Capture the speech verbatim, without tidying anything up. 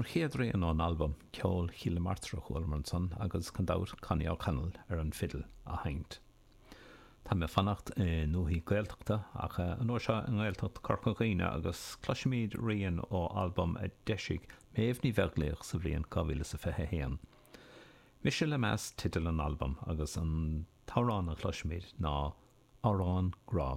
An chéad rian ón albam Ceol Chill na Martra a chualamar ansan agus gan dabht Connie O'Connell ar an fidil á sheinnt. Tá mé ag fanacht i ndúichí Gaeltachta ach an uair seo i nGaeltacht Chorca Dhuibhne agus cloisfimid rian ó albam a d'eisigh Méabh Ní Bheaglaoich sa bhliain dhá mhíle is a fiche a haon. Mise le Meas teideal an albaim agus an t-amhrán a chloisfimid ná Amhrán Grá.